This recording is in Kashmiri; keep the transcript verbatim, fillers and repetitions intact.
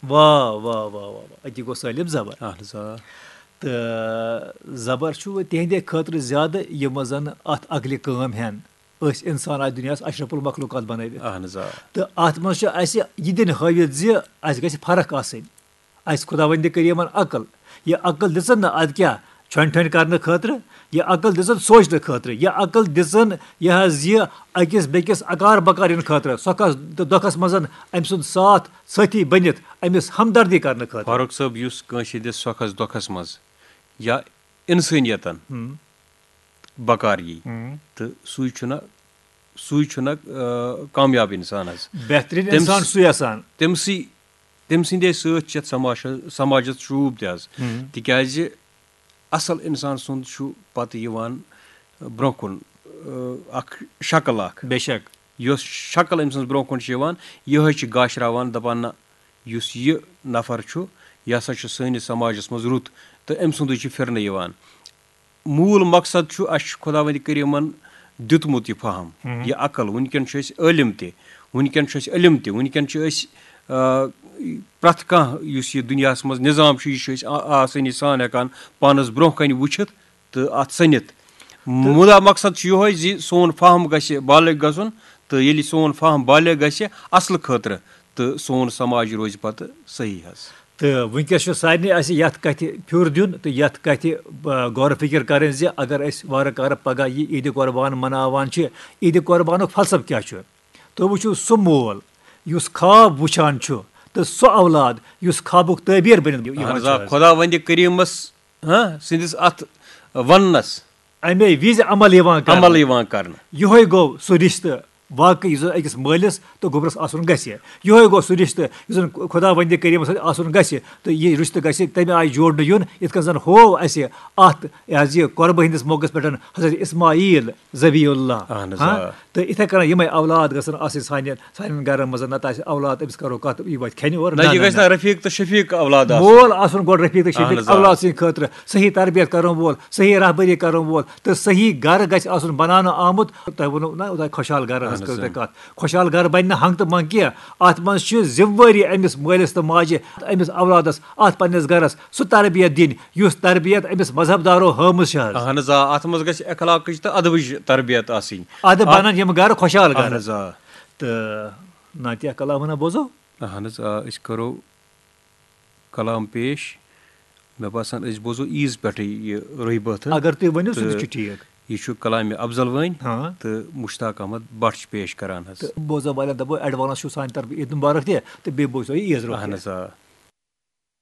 واہ واہ واہ واہ واہ، أتی گوٚو سٲلِم زبر۔ اہن حظ آ۔ تہٕ زبر چھُ وۄنۍ تِہنٛدے خٲطرٕ زیادٕ، یِم زَن اَتھ عقلہِ کٲم ہٮ۪ن۔ أسۍ اِنسان آسہِ دُنیاہَس اشرف المخلوقات بَنٲوِتھ۔ اہن حظ آ۔ تہٕ اَتھ منٛز چھُ اَسہِ یہِ دِنہٕ ہٲوِتھ زِ اَسہِ گژھِ فرق آسٕنۍ۔ اَسہِ خۄداوندِ کریٖمَن عقل، یہِ عقل دِژٕن نہٕ اَدٕ کیٛاہ ژھۄنہِ ٹھۄنہِ کرنہٕ خٲطرٕ، یہِ عقل دِژٕن سونٛچنہٕ خٲطرٕ، یہِ عقل دِژٕن یہِ حظ یہِ أکِس بیٚکِس اکار بکار یِنہٕ خٲطرٕ، سۄکھس تہٕ دۄکھس منٛز أمۍ سُنٛد ساتھ سٲتھی بٔنِتھ أمِس ہمدردی کرنہٕ خٲطرٕ۔ فاروق صٲب، یُس کٲنٛسہِ ہٕنٛدِس سۄکھس دۄکھس منٛز یا انسٲنیتن ہم۔ بکار یی، ہم۔ تہٕ سُے چھُنہ سُے چھُنہ آ، کامیاب انسان حظ۔ بہتریٖن تٔمۍ انسان س- سُے آسان۔ تٔمسٕے تٔمۍ سٕنٛدے سۭتۍ چھِ یَتھ سماجس سماجس شوٗب تہِ حظ۔ ہم۔ تِکیازِ اصل انسان سُنٛد چھُ پتہٕ یِوان برونٛہہ کُن آ، اکھ شکل اکھ۔ بے شک۔ یۄس شکل أمۍ سٕنٛز برونٛہہ کُن چھِ یِوان، یِہوٚے چھِ گاشراوان، دَپان، نہ، یُس یہِ نفر چھُ، یہِ ہسا چھُ سٲنِس سماجس منٛز رُت، تہٕ أمۍ سُنٛدُے چھُ پھِرنہٕ یِوان۔ موٗل مقصد چھُ، اَسہِ چھُ خۄداوندِ کریٖمن دیُتمُت یہِ فہم، ہم۔ یہِ عقل۔ وٕنکیٚن چھِ أسۍ عٲلِم تہِ، وٕنکیٚن چھِ أسۍ علم تہِ، وٕنکیٚن چھِ أسۍ آ، پرٛٮ۪تھ کانٛہہ یُس یہِ دُنیاہس منٛز نظام چھُ، یہِ چھِ أسۍ آ- آسٲنی سان ہٮ۪کان پانس برونٛہہ کنہِ وٕچھِتھ تہٕ اتھ سٔنِتھ۔ مُدا مقصد چھُ یِہوٚے زِ سون فہم گژھِ بالغ گژھُن، تہٕ ییٚلہِ سون فہم بالغ گژھِ اصلہٕ خٲطرٕ، تہٕ سون سماج روزِ پتہٕ صحیح حظ۔ تہٕ وٕنکیٚس چھُ سارنٕے اَسہِ یَتھ کَتھِ پھیُر دیُن تہٕ یَتھ کَتھِ آ، غور و فِکر کَرٕنۍ زِ اگر أسۍ وارٕ کارٕ پگاہ یہِ عیٖدِ قۄربان مناوان چھِ، عیٖدِ قۄربانُک فلسفہٕ کیٛاہ چھُ؟ تُہۍ وٕچھِو سُہ مول یُس خواب وٕچھان چھُ تہٕ سُہ اولاد یُس خوابُک تعبیٖر بٔنِتھ یِوان اہن حظ چھُ آ، حظ۔ خۄداوندِ کریٖمس، ہاں، سٕنٛدِس اتھ وننس اَمے وِزِ عمل یِوان کرنہٕ۔ عمل یِوان کرنہٕ۔ یِہوٚے گوٚو سُہ رِشتہٕ واقعی یُس زَن أکِس مٲلِس تہٕ گوٚبرَس آسُن گژھِ۔ یِہوٚے گوٚو سُہ رِشتہٕ یُس زَن خۄداوندِ کریٖمَس سۭتۍ آسُن گژھِ۔ تہٕ یہِ رِشتہٕ گژھِ تَمہِ آیہِ جوڑنہٕ یُن، یِتھ کٔنۍ زَن ہوو اَسہِ اَتھ، یہِ حظ یہِ قۄربہٕ ہٕنٛدِس موقعس پٮ۪ٹھ حضرت اسماعیل ذبیح اللہ۔ اہن حظ، ہاں؟ آ۔ تہٕ یِتھَے کٔنۍ یِمَے اولاد گژھن آسٕنۍ سانہِ، سانٮ۪ن گَرَن منٛز، نَتہٕ آسہِ اولاد أمِس کَرو کَتھ، یہِ وَتہِ کھٮ۪نہِ اورٕ۔ نہ، نہ، یہِ نہ، گژھِ نہ۔ نہ رفیق تہٕ شفیق اولاد آسُن۔ مول آسُن گۄڈٕ رفیق تہٕ شفیق اہن حظ، آ۔ اولاد سٕنٛدِ خٲطرٕ، صحیح تربیت کرن وول، صحیح رہبری کرن وول تہٕ صحیح گرٕ گژھِ آسُن بناونہٕ آمُت۔ تۄہہِ ووٚنوُ نہ، تۄہہِ خۄشحال گرٕ ہٕنٛز اہن کٔر حظ، تۄہہِ آ۔ کتھ۔ خۄشحال گرٕ بنہِ نہٕ ہنٛگ تہٕ منٛگ کینٛہہ۔ اتھ منٛز چھِ ذمہٕ وٲری أمِس مٲلِس تہٕ ماجہِ، أمِس اولادس، اتھ پننِس گرس سُہ تربیت دِنۍ، یُس تربیت أمِس مذہب دارو ہٲومٕژ چھِ حظ۔ اہن حظ، آ، اتھ منٛز گژھِ اخلاقٕچ تہٕ ادبٕچ تربیت آسٕنۍ۔ ادٕ اتھ- بنن یِم گرٕ خۄشحال اہن گرٕ۔ حظ، آ۔ تہٕ ناتیہ کلام ہنا بوزو۔ اہن حظ، آ، أسۍ کرو کلام پیش۔ مےٚ باسان، أسۍ بوزو عیٖز پٮ۪ٹھٕے یہِ رُہہِ بٲتھٕ۔ اگر تُہۍ ؤنِو، سُہ تہِ تہٕ چھُ ٹھیٖک۔ یہِ چھُ کلامِ افضل وٲنۍ ہاں۔ تہٕ مشتاق احمد بٹ چھِ پیش کران حظ۔ تہٕ بوزو والٮ۪ن دپو، advance چھُ سانہِ طرفہٕ عیٖد مُبارک تہِ، تہٕ بیٚیہِ بوزو یہِ عیٖز برونٛہہ اہن تہِ۔ حظ، آ۔